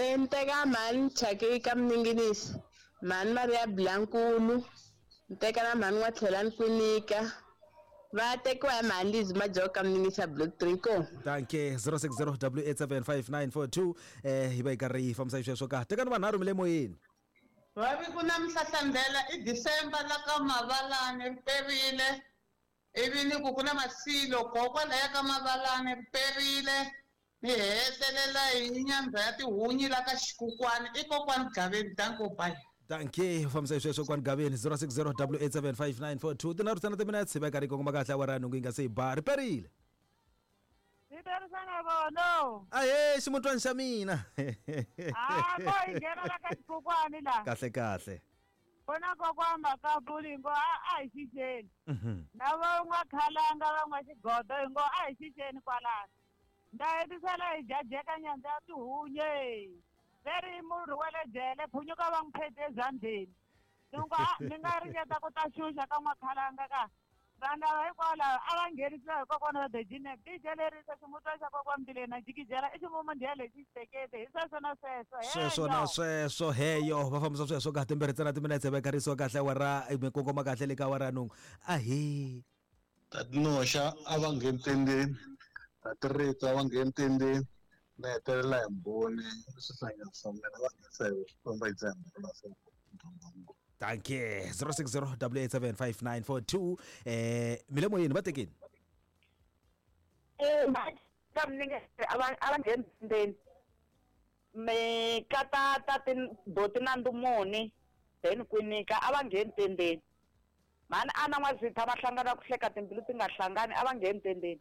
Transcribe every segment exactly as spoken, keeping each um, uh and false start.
Eh ni teka mhani Chaki ka Mninginisi, mhani Maria Blankulu, ni teka na mhani N'watlhelani Kwinika. Va tekiwa hi mhani Lizi Majoko ka Mninginisi block three ko. Danke zero six zero double eight seven five nine four two eh hi va hi karhi hi fambisa xisweswo ka tekani vanharhu mi le moyeni. Vavi ku na mhlahlandlela i December la ka Mavalani ri perile ivi ni ku ku na masilo kokwalaya ka Mavalani ri perile ni hetelela hi nyandza ya tihunyi la ka Xikukwani i kokwani Gaveni. Danko bye. Danke fambisa xisweswo kwani Gaveni zero six zero double eight seven five nine four two tinharhu tsana timinetse hi va karhi hi kongoma kahle awara ya nhungu yi nga se yi ba ri perile. Ni vono. Ahe ximutwani xa mina. Ah ko hi nghena la ka Xikukwani la. Kahle kahle. Vona kokwamba ka bulingo a a hi xixeni. Na va n'wa khalanga va n'wa xigodo hi ngo a hi xixeni kwalano. Nda hetisela hi jajeka nyandza ya tihunye. Veri murhi wa le jele phunyuka va n'wi phete ezandleni. Ni ngo ni nga ringeta ku ta xuxa ka n'wa khalanga ka. Vanhu lava hikwalaho a va nghenisiwa hi kokwana va Dejine D J lerisa ximutwa xa kokwana Mbileni jikijela i ximumu ndiya lexi xitekete hi sweswo na sweswo sweswo na sweswo heyo va fambisa sweswo ka timbirhi tsena timinetse va karisiwa kahle awara mi kongoma kahle le ka awara ya nhungu ahe Tatinoxa a va ngheni tendeni, Tatirito a va ngheni tendeni, ni hetelela hi mbhoni swihlangi swa mina va nghenisa hi famba hi dzembe la swa. Danke zero six zero double eight seven five nine four two eh mi le moyeni va tekeni. Eh ka mninge a va a va ngheni tendeni me kata ta boti na ndumoni then Kwinika a va ngheni tendeni mhani a na n'wazitha va hlangana ku hleka timbilu ti nga hlangani a va ngheni tendeni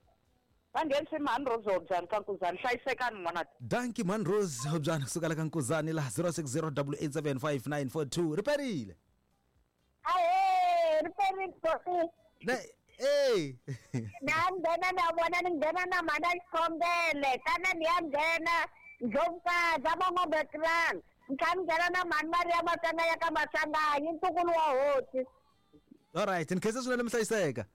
va nghenisi mhani Rose Hobyani ka Nkuzani hlayisekani n'wana. Danki mhani Rose Hobyani kusuka la ka Nkuzani la zero six zero double eight seven five nine four two ri perile. Ahe ri perile boti. Ne eh na nghena na vona ni nghena na mhana Xikombele tana ni ya nghena Ndlovukazi a van'wabekirani ni tlhela ni nghena na mhani Maria Matsanga ya ka Maswanganyi ntukulu wa hosi. All right ni khensa swinene mi hlayiseka.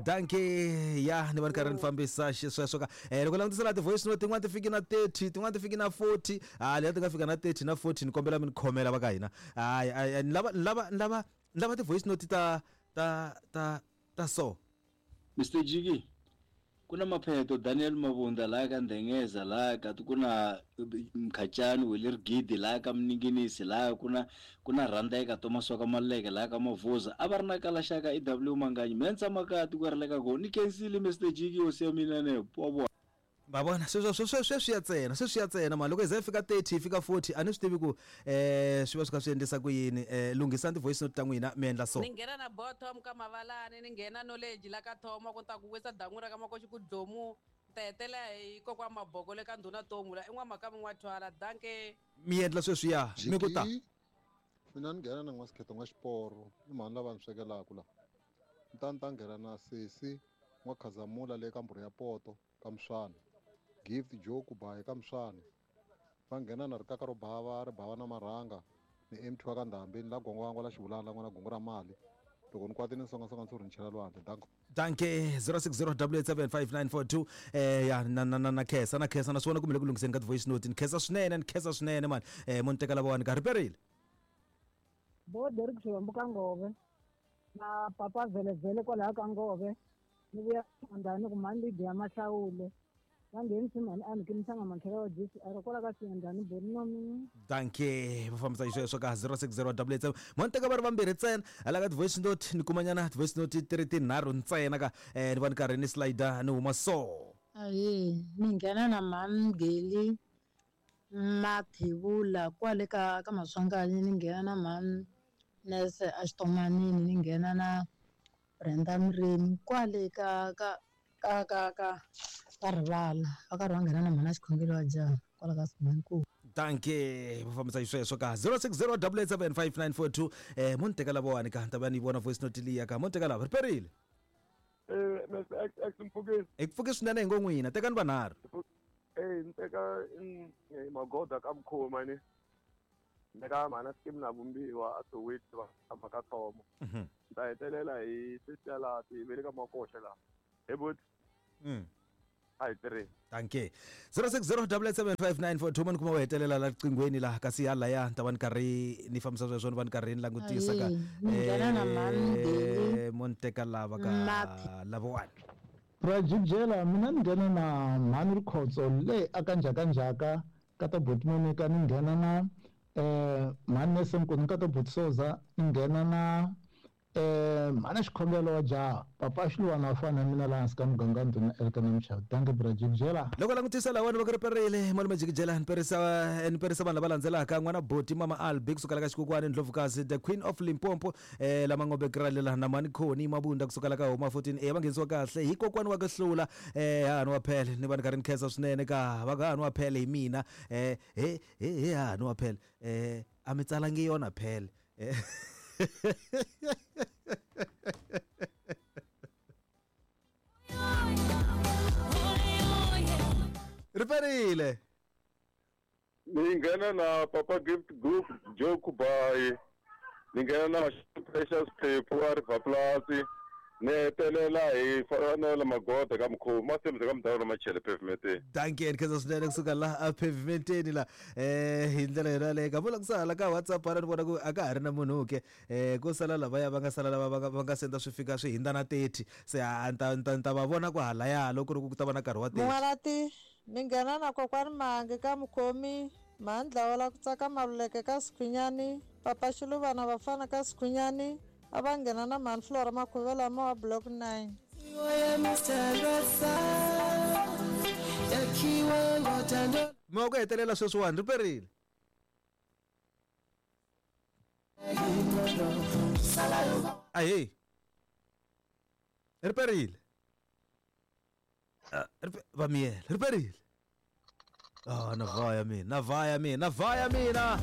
Danke ya ni va ni karhi ni fambisa xisweswo ka eh loko langutisela ti-voice note tin'wana ti fiki na thirty tin'wana ti fiki na forty ah leyi ti nga fika na thirty na forty ni kombela mi ni khomela va ka hina hayi ni lava ni lava ni lava ni lava ti-voice note ta ta ta ta so Mister Jiki ku na mapheto Daniel Mabunda la ka Ndengeza la ka ku na Mkhachani Wele Rigidi la ka Mninginisi la ku na ku na Rhandeka Thomas wa ka Maleke la ka Mavuza a va ri na kalaxaka E W Manganyi mina ni tshama kaya tiko ra le ka kona ni khensile Mister Jiki hosi ya mina ne wa vona. Va vona sweswo sweswo sweswi ya ntsena sweswi ya ntsena mali loko hi ze hi fika thirty hi fika forty a ni swi tivi ku eh swi va swi kha swi endlisa ku yini eh lunghisani ti-voice note ta n'wina mi endla so. Ni nghena na bottom ka Mavalani ni nghena knowledge la ka Thoma ku ta ku wisa dan'wu ra ka Makoxi ku dlomu ta hetelela hi kokwa Maboko le ka ndhuna Tomu la i n'wamakami n'wathwala danke. Mi endla sweswiya mi ku ta. Mina ni nghena na n'wasikheto n'wa xiporo i mhani lava ni swekelaka la ni ta ni ta nghena na sesi n'wakhazamula le ka mbhuri ya poto ka Mswana Gift Joe ku ba eka Mswana va nghena na rikaka ro bava ri bava na marhanga ni M two wa ka Ndhambi la gongwangwa la xivulana n'wana gongo ra mali loko ni kwati ni songasonga ndzi ri ni chela lwandle. Danko danke zero six zero double eight seven five nine four two eh ya na na na na khensa na khensa na swi vona kumbe le ku lunghiseni ka ti-voice note ni khensa swinene ni khensa swinene mani eh mo ni teka lavawani ka ri perile. Bo Derek Xivambu ka Ngove na papa Velevele kwalaho ka Ngove ni vuya ndani ku mhani Lydia Mahlawule va nghenisi mhani a ni kimisanga matlhelo wa G C R kwala ka Siyandhani Bonami. Danke va fambisa xisweswo ka zero six zero double eight seven mo ni teka va ri vambirhi ntsena hala ka ti-voice note ni kumanyana ti-voice note ti ri tinharhu ntsena ka eh ni va ni karhi ni slider ni huma so. Ahe ni nghena na mhani Geli Mathebula kwale ka ka Maswanganyi ni nghena na mhani Nese a Xitomanini ni nghena na Brenda Mremi kwale ka ka ka ka ka ka rivala va karhi va nghena na mhana xikhongelo wa jaha kwala ka Simanku. Danke va fambisa xisweswo ka zero six zero double eight seven five nine four two eh mo ni teka lavawani ka ta va ni vona voice note liya ka mo ni teka lava ri perile. Eh Mister X X Mpfukeni. Hi ku pfuke swinene hi ngo n'wina tekani vanharhu. Eh ni teka Magoda ka Mkhoma ni ni ka mhana Skim na Vumbiwa a Soweto va tshama ka Thomo. Ni ta hetelela hi sesi ya laha ti ve le ka Makoxa laha. He buti. Mm. A hi tirheni. Dankie. zero six zero double eight seven five nine four two mani kuma u hetelela la riqinghweni laha kasi halaya ni ta va ni karhi ni fambisa sweswo ni va ni karhi ni langutisa ka Ayi, ni nghena na mhani Deli. eh, mo ni teka lava ka Maphi. lavawani. Rajibjela mina ni nghena na mhani Rikhotso le aka Njhakanjhaka ka ta Buti Monica, ni nghena na eh mhani Nese Nkuni ka ta Buti Soza, ni nghena na eh mhani Xikhongelo wa jaha papa Xiluwana wa fana na mina laha hansi ka muganga ndhuna Elkana Mchawu. Dankie Brajibjela. Loko langutisa lawani va ku ri perile malume Jikijela ni perisa ni perisa vanhu lava landzelaka n'wana Boti Mama Albi kusuka la ka Xikokwani Ndlovukazi the Queen of Limpopo eh lama ngombe kralela na mani Khoni Mabunda kusuka la ka Homa fourteen eh va nghenisiwa kahle hi kokwani wa ku hlula eh hahani wa phele ni va ni karhi ni khensa swinene ka va ka hahani wa phele hi mina eh he he he hahani wa phele eh a mi tsalangi yona phele eh Riperile. Ni nghena na Papa Gift Group Joe Kubayi. Ni nghena na Precious Phephu a River Plus. Ni hetelela hi Fanele Magoda ka Mkhomi Masimba ka Mdawula Machele pavementeni. Dankie ni khensa swinene kusuka laha a pavementeni la eh hi ndlela yona yaleyo ka vula ku sala ka WhatsApp hala ni vona ku a ka ha ri na munhu ke eh ko sala lavaya va nga sala lava va nga va nga senda swi fika swi hindza na thirty se a ni ta ni ta ni ta va vona ku halaya loko ku ri ku ta va na nkarhi wa thirty. Mun'walati ni nghena na kokwani Mangi ka Mukhomi, mhani Dlawela ku tsaka Maluleke ka Sikhunyani, papa Xiluvana vafana ka Sikhunyani, a va nghena na mhani Flora Makhuvela ma wa block nine. Mi wa ku hetelela sweswiwani ri perile. Ahee. Ri perile. Ah, ri pe- va miyela ri perile. Ah, na vaya mina, na vaya mina, na vaya mina.